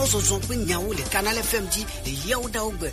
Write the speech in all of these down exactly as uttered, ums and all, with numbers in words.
Zɔzɔ kple nyawo le Canal F M dzi le yawo ɖawo gbe.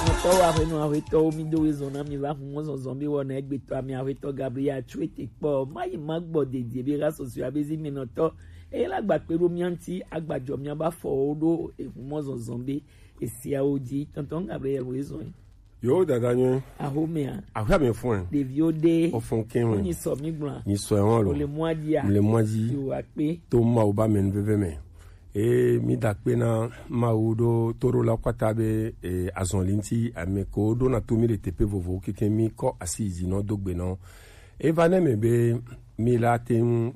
Nɔtɔwo, aƒenɔ, aƒetɔwo, mi do wezɔn na mi va hu mɔ zɔzɔ be wɔna egbetɔ ami aƒetɔ Gabriel Atsuete kpɔ. Mayi magbɔ dedie be ga sɔsɔe abe zi mi nɔtɔ. Eye la gba kpe ɖo mia ŋuti, agbadzɔ mia ba fɔwo ɖo ehu mɔ zɔzɔ be esiawo dzi. Tɔntɔn Gabriel wo ezɔn. Yo, dada nyuie. Ahomea. Ahomea fɔn. Ɖeviwo ɖe. Ofɔn kɛn. Nyi sɔ mi gblɔ. Nyi sɔ wɔn lo. Le mɔa dzia. Le mɔa dzi. Yo akpe. To Mawu ba mɛ nuveve mɛ. E mi da akpe na Mawu ɖo to ɖo la kpata be e azɔn li ŋuti ame ko ɖo na to mi le teƒe vovo keke mi kɔ asi yi dzi nɔ do gbe nɔ. E va ne me be mi la te ŋu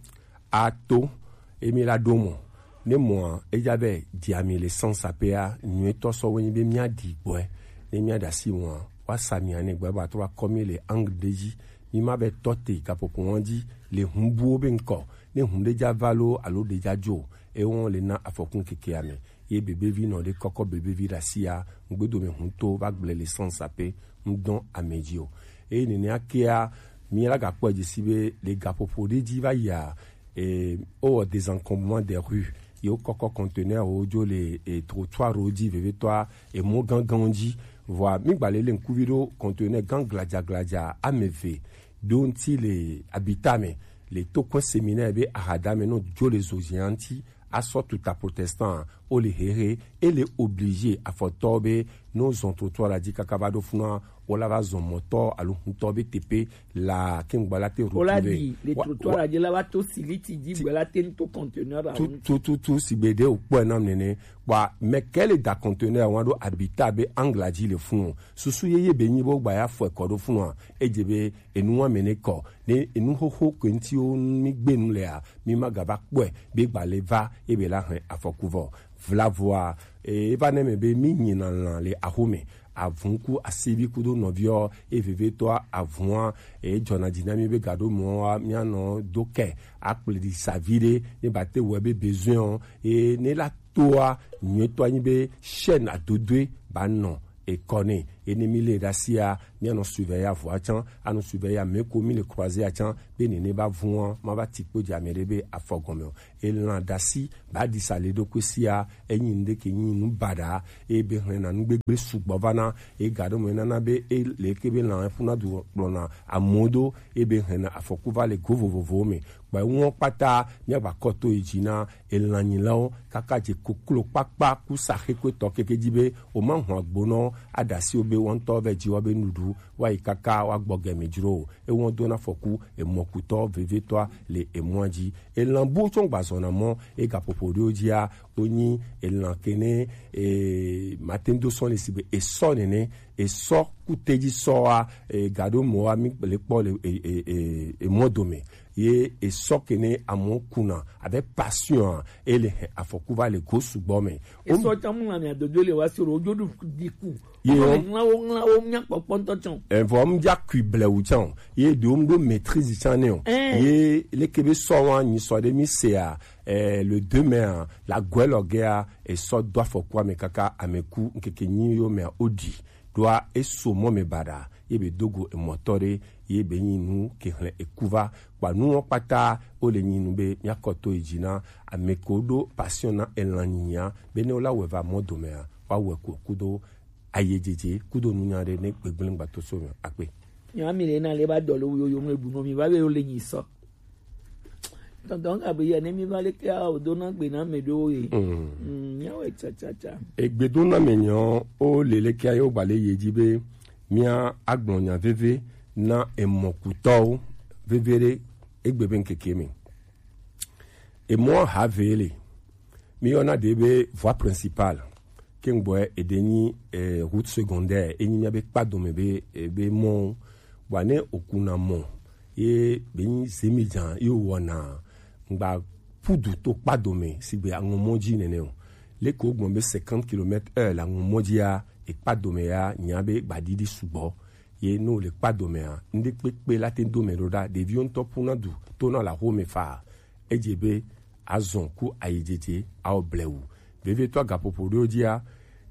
ato, emi la ɖo mɔ. Ne mɔa, edza be dzi ami le sans apea, nyuietɔ sɔ wo nyi be mia ɖi gbɔe. Ne mia ɖe asi mɔa, wa sa mi ane gbɔe ba trɔ akɔ mi le angle ɖe dzi. Mi ma be tɔ te gaƒoƒo wɔn dzi le hun buwo be ŋkɔ. Ne hun ɖe dza va lo alo ɖe dza dzo, e wɔn le na afɔku keke ame. Ye bebevi nɔ ɖe kɔkɔ bebevi ɖe asia, ŋgbedome huntɔ va gblẽ le sans ape ŋdɔn ame dzi o. Eye nenea kea, mi la gakpɔ dzi si be le gaƒoƒo ɖe dzi va yia, e, o wɔ désencombrement des rues, ye wokɔkɔ conteneur wo dzo le e, trottoir wo dzi vevetɔa, emɔ gãgãwo dzi. Vɔa mi gba le le ŋkuvi ɖo conteneur gã gladza gladza ame eve ɖo ŋuti le abita me le tokɔe séminaire be ahada me nɔ dzo le zozia ŋuti asɔ tuta protestant o le hehe e le obligé afɔtɔ be no zɔn trottoir la dzi kaka va ɖo funua o la va zɔn mɔtɔ alo huntɔ be tepe la ke ŋgba la te o la retrouver di le trottoir la dzi la va to siliti dzi gbɛ la te ŋto conteneur la tu tu tu tu si gbe de o kpɔe nam nene kpa mɛ ke le da conteneur wa ɖo abita be angla dzi le fun o susu yeye be nyi bo gba ya fɔ ekɔ ɖo funua edze be enu wa mɛ ne kɔ ne enu xoxo ke ŋti wo mi gbe nu lea mi ma gava kpɔe be gba le va ebe la hɛn afɔku vɔ vlavoa e va ne me be mi nyina lã le axome avun ku asivi kudo nɔviɔ e vevetɔa avua e dzɔna dzi na mi be gaɖo mɔa mianɔ do kɛ akpledi savi ɖe ne ba te wɔ be besoin o e ne la toa nyuietɔ anyi be chaîne adodoe ba nɔ ekɔ ne ene mi le ɖe asia mianɔ surveiller avua tsã anɔ surveiller ame ko mi le croiser atsã be nene ba vua ma va ti kpo dze ame ɖe be afɔ gɔme o elã ɖe asi ba ɖi sa le ɖokui sia enyi nu ɖe ke nyi nu baɖa eye be hlɛna nu gbegble sugbɔ va na eye ga ɖe me nana be e le ke be lã ƒuna du kplɔna amewo do eye be hlɛna afɔku va le go vovovowo me kpa eŋuɔ kpata míagba kɔ to yi dzi na elãnyilawo kaka dze koklo kpakpa kusa xekpetɔ keke dzi be woma hlɔ agbonɔ aɖe asi wo be woaŋutɔ vɛ dzi wa be nuɖu woayi kaka woagbɔ gɛmi dzro o ewɔ dona fɔku emɔkutɔ vevetɔa le emɔa dzi elã buwo tsɔ gbazɔna mɔ egaƒoƒo ɖewo dzia wonyi elã kene e, mate ŋu do sɔ le si be esɔ nene esɔ kutedzi sɔa e, gaɖo mɔa mi le kpɔ le e, e, e, emɔ dome ye esɔ kene amewo kuna abe passion e le he afɔku va le go sugbɔ me. Esɔ tsa mu lãmea dodo le wa si o ɖo wodzo ɖu diku. Ye wo ŋlã wo ŋlã wo nya kpɔkpɔ ŋutɔ tsã o. Evɔ ŋdza kui blewu tsã o. Ye ɖewo ŋɖo maîtrise tsã nɛ o. Ɛɛ. Ye leke be sɔ wa nyi sɔ ɖe mi sea eh, le deux mai a la gɔe lɔ gea esɔ do afɔku ame kaka ame ku ŋkeke nyi yo mea o ɖi ɖoa eso mɔ me baɖa ye be dogo emɔtɔ ɖe ye be nyi nu ke hlẽ eku va kpa nuwo kpata wo le nyi nu be míakɔ to yi dzi na ame ko ɖo passion na elã nyinyia be ne wo la wɔ va mɔ domea woawɔe ko kudo ayedzedze kudo nunya ɖe ne gbegblẽ gbato so me akpe. Nyami le na le ba dɔ le wo yo yo ŋle bu no mi va be wo le nyi sɔ. Tɔntɔn Gabriel ne mi va le ke a o do na gbe na me ɖo ye. Mm. Mm, nya we cha cha cha. Egbedo na me nyɔ o le le ke a yo gba le ye dzi be mia agblɔ nya veve na emɔkutɔwo veve ɖe egbe be ŋkeke me. Emɔ ha ve le. Mi yɔna ɖe be voie principale. Ke ŋgbɔɛ eɖe nyi eh, route secondaire enyi mia be kpa dome be eh, be mɔ wa ne okuna mɔ ye be nyi zemi dza ye wɔna ŋgba pudu to kpa dome sigbe aŋɔmɔ dzi nene o leke wogbɔn be cinquante kilomètres heure le aŋɔmɔ dzia ekpa dome ya nya be gbaɖiɖi sugbɔ ye ne wòle kpa domea ŋɖe kpekpe la te do me ɖo ɖa ɖeviwo ŋutɔ ƒuna du tona le axome faa edze be azɔ ku ayidzedze awɔ blewu vevietɔ agaƒoƒo ɖewo dzia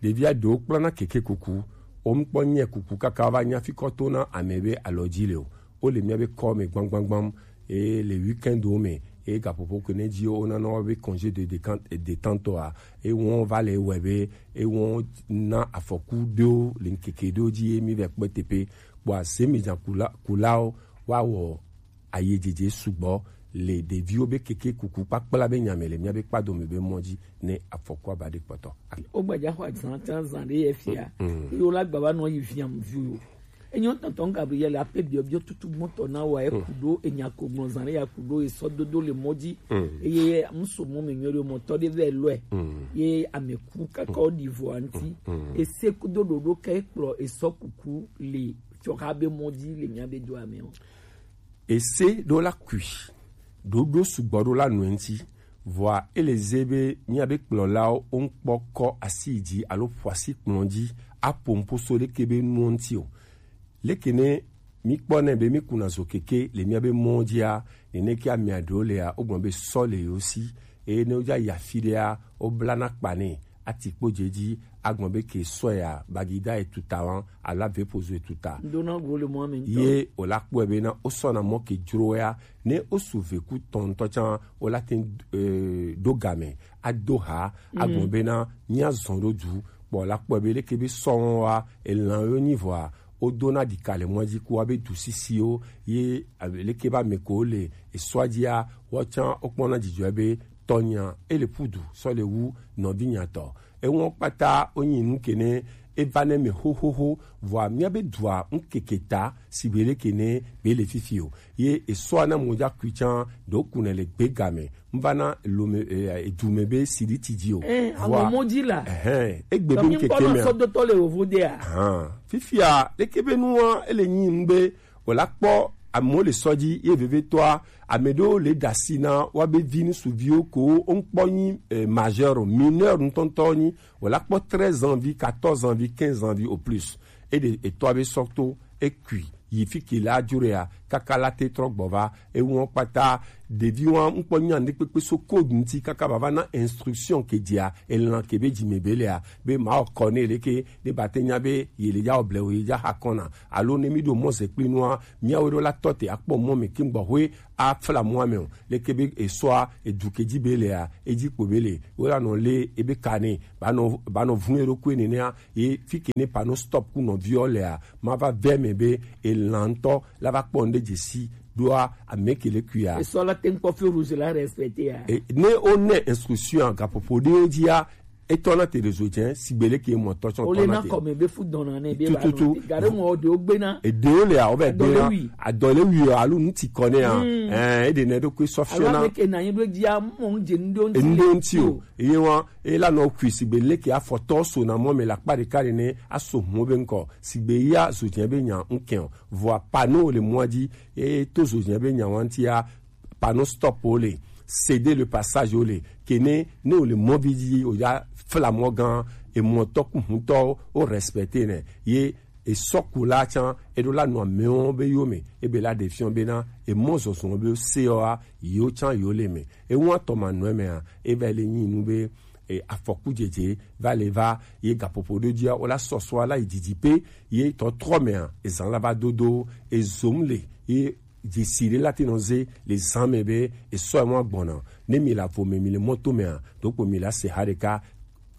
ɖevia ɖewo kplana keke kuku womkpɔ nyɛ kuku kaka va nya fikɔ tona ame be alɔ dzi le o wole mía be kɔ me gbamgbamgbam eye le weekendwo me Eye gaƒoƒo ke ne dzi wona na wo be congé de décan- détente a, ewɔn va le wɔe be ewɔn na afɔku ɖewo le ŋkeke ɖewo dzi ye mi vɛ kpɔe teƒe. Kpɔa, zemi dza kula kulawo wa wɔ aye dzedze sugbɔ le ɖeviwo be keke kuku kpakpla be nya me le miabe kpadome be mɔ dzi ne afɔkua va ɖe kpɔtɔ. Wogbaja xɔ azã tsã zã ɖe ye fia. Ye wo la gba va nɔ yi viam viwo. Enyo tɔntɔn Gabriel ape biɔbiɔ tutu gbɔtɔ na wa eku ɖo enya ko gbɔn zã ɖe ya ku ɖo esɔ dodo le mɔ dzi. Eye muso mɔ me nyɔ ɖe mɔtɔ ɖe vɛ lɔe. Ye ame ku kaka wo ɖi vɔ anti. Ese kudo ɖoɖo ke kplɔ esɔ kuku le fiɔ xa be mɔ dzi le mia be do ame o. Ese ɖo la kui ɖoɖo sugbɔ ɖo la nɔe ŋuti. Vɔa ele ze be míabe kplɔlawo woŋkpɔ kɔ asi yi dzi alo ƒo asi kplɔ dzi aƒo nuƒo so leke be nuwo ŋuti o. Leke ne míkpɔnɛ be míkuna zo keke le míabe mɔwo dzia, neneke amea ɖewo lea, wogblɔ be sɔ le yewo si, eye ne wodza yi afi ɖea, woblana kpa nɛ, ati kpo dze edzi, agblɔ be ke sɔ ya, bagida etuta wan, alo avepozo etuta. Ŋdona go le mɔ me ŋutɔ. Ye wòla kpɔe bena wosɔna mɔ ke dzro ya, ne wosu veku tɔn ŋutɔ tsã, wola te ŋu, eh, ɖo game, ado ha, agblɔ bena míazɔ ɖo du, kpɔ la kpɔe be leke be sɔwo wa, elãwo nyi vɔa, wodona ɖika le mɔa dzi ku woabe du sisiwo, ye, eh, leke be ame ko le esɔa dzia, woawo tsã wokpɔna dzidzɔe be tɔnyea, ele ƒu du sɔ le wu nɔvinyea tɔ. Enuwo kpata wonyi nu ke ne eva ne me xoxoxo, vɔa míabe dua ŋkeke ta sigbe leke ne be le fifi o. Ye esɔa na mo dza kui tsã, ɖo ku ne le gbe game, mva na lome, eh, edu me be sidi ti dzi o. Eh, vɔa, ame mo dzi la. Ehɛn, egbe be ŋkeke me. Sɔdotɔ le wovo de a. Ahan. Fifia, leke be nua, ele nyi nu be wòla kpɔ amewo le sɔ dzi ye vevietɔa, ame ɖewo le ɖe asi na woabe vi ŋutsuviwo ko woŋkpɔ nyi, eh, majeur o, mineur ŋutɔŋutɔ nyi, wòla kpɔ treize ans vi, quatorze ans vi, quinze ans vi au plus. Eɖe etɔa be sɔ to, ekui yi fi ke la dzro ya, kaka la te trɔ gbɔ va, enuwo kpata, ɖeviwo ŋkpɔ nya ŋɖe kpekpe so code ŋuti kaka vava na instruction ke dzia, elã ke be dzime be lea, be mawɔ kɔ ne leke, ne ba te nya be ye le ya wɔ blewu ye dza xa kɔna. Alo ne mi ɖo mɔ ze kpli nua, miawo ɖo la tɔ te akpɔ mɔ me ke gbɔxwe afla mɔa me o. Leke be esɔa, edu ke dzi be lea, edzi kpo be le. Wo la nɔ le ebe ka ne, ba nɔ, ba nɔ vun eɖokui nenea, ye fi ke ne panneau stop ku nɔviɔ lea, ma va vɛ me be elã ŋutɔ la va kpɔ ŋɖe dzesi ɖoa ame ke le kuia. Esɔ la te ŋkpɔ feu rouge la respecté ya. E, ne o ne instruction gaƒoƒo ɖewo dzia, etɔna te ɖe zo dze sigbe leke mɔtɔ tsɔ. Ole tɔna na te kɔme be fu dɔna ne be tututu. Gare mɔ ɖewo gbena. Eɖewo le awo be gbena. Adɔlewi alo ŋuti kɔ ne ya. Ɛɛ, eɖe ne ɖo kue sɔ fiɔ na. Ame ke na yin ɖo dzia mɔ ŋdze ŋɖo ŋti. Ŋɖo ŋti o. Eye wa, ela nɔ kui sigbe leke afɔtɔ so na mɔ me la kpa ɖeka ɖe ne aso mɔ be ŋkɔ. Sigbe ya zo dze be nya ŋkɛ o. Vɔa panneau le mɔa dzi, eye to zo dze be nya wa ŋtia, panneau stop wo le, céder le passage wo le, ke ne, ne wo le mɔvi dzi, o ya fla mɔ gã, emɔtɔ ku hutɔ, o respecter ne, ye esɔkula tsã, eɖo la nɔ amewo be yo me, ebe la ɖe fiɔ bena, emɔ zɔzɔ be se wa, yo tsã yo le me. Ewa tɔ ma nɔ me a, eva le nyi nu be, e, afɔku dzedze va le va, ye gaƒoƒo ɖo dzia, o la sɔsɔ la yi didi pe, ye tɔtrɔ me a, ezan la va dodo, ezom le, ye dzesi ɖe la te nɔ ze le zã me be esɔ emo agbɔna. Ne mi le avo me, mi le mɔto mea, ɖokpo mi la se ha ɖeka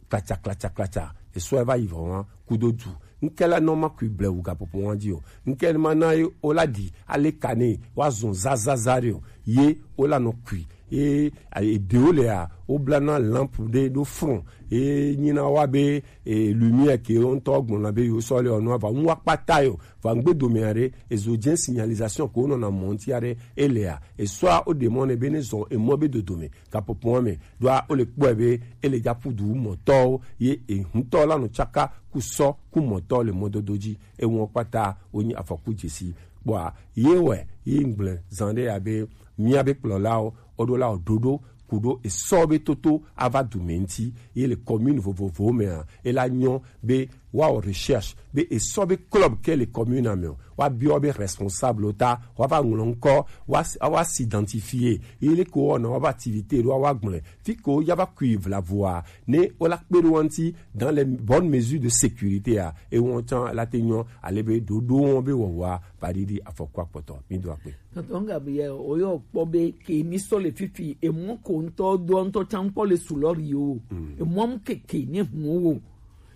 klatsa, klatsa, klatsa. Esɔ eva yi vɔ wa kudo du. Ŋke la nɔ ma kui blewu gaƒoƒo wa dzi o. Ŋke ma na ye o la ɖi ale ka ne wa zɔn zazaza ɖe o. Ye o la nɔ kui. Ye, a, eɖewo lea, woblana lampe ɖe ɖo front. Ye nyina wa be, e, lumière ke wo ŋutɔ gblɔna be yewo sɔ le ɔnua va ŋu akpata yo. Va ŋgbe dome aɖe, ezo dze signalisation ko wonɔna mɔ ŋuti aɖe, elea, esɔa woɖe mɔ nɛ be ne zɔ emɔ be dodome, gaƒoƒoa me, ɖoa wole kpɔe be ele dza ƒu du mɔtɔwo, ye ehutɔ la nɔ tsaka ku sɔ ku mɔtɔ le mɔdodo dzi, eŋɔ kpata wonyi afɔku dzesi. Kpɔa, ye wɛ, ye ŋgble zã ɖe ya be, míabe kplɔlawo, woɖo la ɖoɖo, ku ɖo esɔ be toto ava du me ŋuti, ye le commune vovovowo mea, ela nyɔ be wa o recherche be e sɔ be club ke le commune ame o, wa biɔ be responsable o ta, wa va ŋlɔ ŋkɔ, wa wa s'identifier, ye le ko wɔna wa ba activité ɖo wa gblɔe fi ko ya va kui vla voa ne o la kpe ɖo wa ŋti dans les bonnes mesures de sécurité a, e wɔn can la te nyɔ ale be ɖoɖo wɔn be wɔwɔa va ɖiɖi afɔku akpɔtɔ. Mi do akpe. Tɔntɔn Gabriel, o yɔ kpɔ be ke mi sɔ le fifi, e mɔ ko ŋtɔ do ŋtɔ can kpɔ le sulɔri o, e mɔ mu keke ne hun o,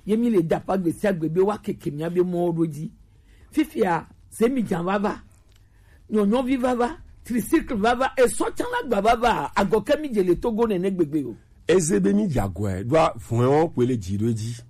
ye mi le da pa gbesi agbe be wa keke mi abe mɔ ɖo dzi. Fifia, se mi jan vava, nyɔnyɔvi vava, tricycle vava, esɔ can la gba vava, agɔke mi dze le Togo nene gbegbe o. Eze be mi dze agɔe ɖoa vɔ̃e wɔn kpoe le dzi ɖo edzi.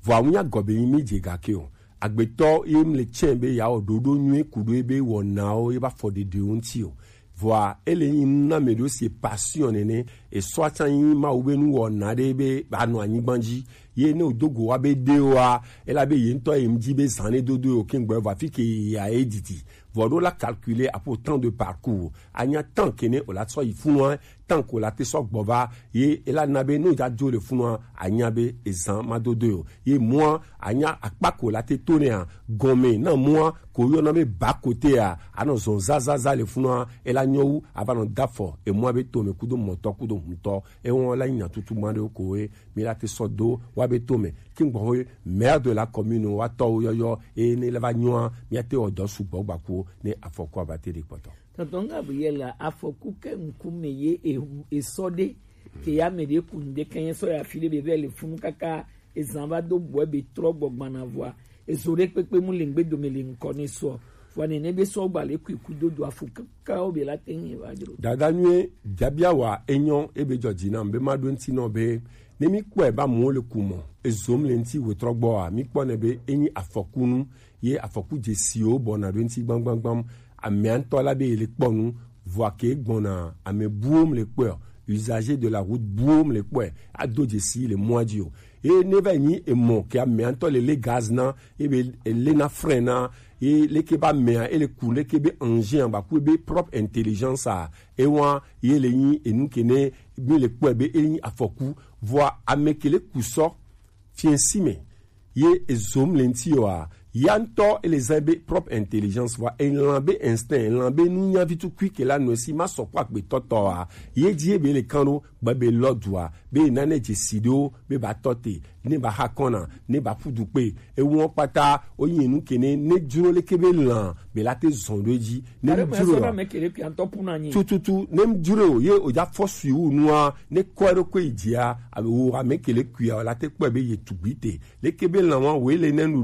Vɔ awu nya gɔ be mi dze gake o. Agbetɔ ye mi le tsɛ be ya wɔ ɖoɖo nyuie ku ɖo ebe wɔnawo ye ba fɔ ɖeɖewo ŋti o. Vɔa ele nyi nu na me ɖo si passion nene, esɔ can nyi Mawu be nu wɔna ɖe be ba nɔ anyigba dzi. Ye ne o do go wa be ɖe wa, ela be ye ŋtɔ ye ŋdi be zan ne dodo yo kengbe va fi ke ya ye didi. Vɔ ɖo la calculer apo temps de parcours. Anya temps ke ne o la sɔ yi funu wa, tant que la te sɔ gbɔ va, ye ela na be no ja dzo le funua, anya be ezan ma do do yo. Ye mua, anya akpa ko la te to ne a, gɔme na mua, ko yɔ na be ba kote a, anɔ zɔn zazaza le funua, ela nyɔ wu, ava nɔ dafɔ, e mua be to me kudo mɔtɔ kudo huntɔ, e wɔn la nya tutu ma ɖe ko ye, mi la te sɔ do, wa be to me, ki gbɔ ye, maire de la commune, wa tɔ wo yɔyɔ, e ne la va nyɔa, mi ate wɔ dɔ sugbɔ gbaku, ne afɔku ava te de kpɔtɔ. Tɔntɔn Gabriel, afɔku ke ŋkume ye e, esɔ ɖe ke ya me ɖe ku ŋɖe ke nye sɔ ya fi ɖe be vɛ le funu kaka ezan va do bɔe be trɔ gbɔ gbana vɔa ezo ɖe kpekpe mu le ŋgbe dome le ŋkɔ ne sɔ vɔa nene be sɔ gba le kui ku dodo afɔku kaka wo be la te ŋu va dzro. Dada nyuie, biabia wa enyɔ ebe dzɔ dzi nam be ma ɖo ŋti nɔ be ne mi kpɔe ba mu le ku mɔ ezom le ŋti wetrɔ gbɔ a mi kpɔ ne be enyi afɔkunu ye afɔku dzesiwo bɔna ɖo ŋti gbamgbamgbam. Amea ŋutɔ la be ye le kpɔ nu, vɔa ke gbɔna ame buwo mu le kpɔe o, usager de la route buwo mu le kpɔe, ado dzesi le mɔa dzi o. Ye ne va nyi emɔ ke amea ŋutɔ le le gaz na, ye be ele na frein na, ye leke be amea ele ku leke be engin a ba ku be propre intelligence a, ewa ye le nyi enu ke ne mi le kpɔe be ele nyi afɔku, vɔa ame ke le ku sɔ fiɛsi me ye ezom le ŋti yɔ a, ya ŋutɔ ele zan be propre intelligence vɔa elan be instinct, elan be nunya vi tukui ke la nɔ esi ma sɔ kpɔ agbetɔtɔ a, ye dzi ebe le kan ɖo gbe be lɔ dua be nane dzesi ɖewo be ba tɔ te, ne ba ha kɔna, ne ba ƒu du kpe, ewɔ kpata wo nyi nu ke ne ne dzro leke be lan be la te zɔn ɖo edzi, ne dzro tututu ne dzro ye o ja fɔ sui wu nua ne kɔ ɖo ko yi dzia, abe wo ame ke le kuia la te kpɔe be ye tugbi te, leke be lan wa wo le ne nu